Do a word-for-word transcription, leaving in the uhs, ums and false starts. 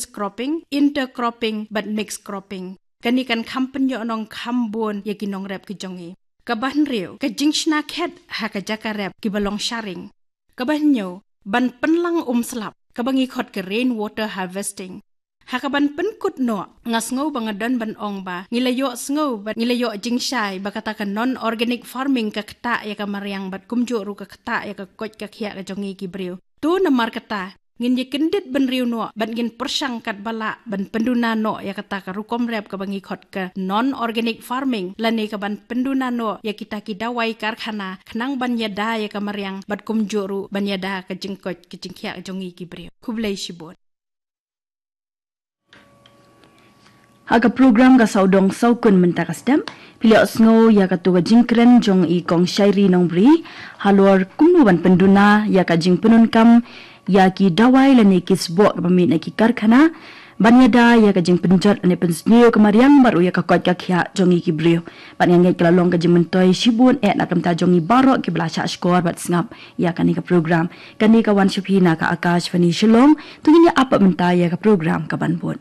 cropping, intercropping bad mixed cropping. Kane kan kham pynïoh nongkham bun ïa ki nongrep ki jong ngi. Kaba hynriew, ka jingshna khet ha ka jaka rep kiba long sharing. Kaba hynñiew, ban pynlang um slap, kaba ngi khot ka rain water harvesting. Ha kaban pynkut noh, nga sngew ba nga don ban ong ba ngi la ïohsngew bad ngi la ïoh jingshai ba kata ka non-organic farming ka ktah ïa ka mariang bad kumjuh ruh ka ktah ïa ka koit ka khiah ka jong ngi ki briew. To namar kata, ngin ïa kyndit bynriew noh bad ngin pyrshang katba lah ban pynduna noh ïa kata ka rukom rep kaba ngi khot ka non-organic farming lane kaban pynduna noh ïa kita ki dawai karkhana khnang ban ïada ïa ka mariang bad kumjuh ruh ban ïada ka jingkoit ka jingkhiah ka jong ngi ki briew. Khublei shibun. Ha ka program ka Sawdong Sawkun mynta ka step, phi la ïohsngew ïa kato ka jingkren jong i Kong Shairi Nongbri halor kumno ban pynduna ïa ka jingpyndonkam ïa ki dawai lane ki sboh kaba mih na ki karkhana ban ïada ïa ka jingpynjot lane pynsniew ka mariang bad ruh ïa ka koit ka khiah jong ngi ki briew. Bad nga ngeit ka la long ka jingmyntoi shibun eh na ka bynta jong ngi baroh kiba la shah shkor bad sngap ïa kane ka program. Kane ka wan sha phi na ka Akashvani Shillong. To ngin ïa ap pat mynta ïa ka program kaban bud.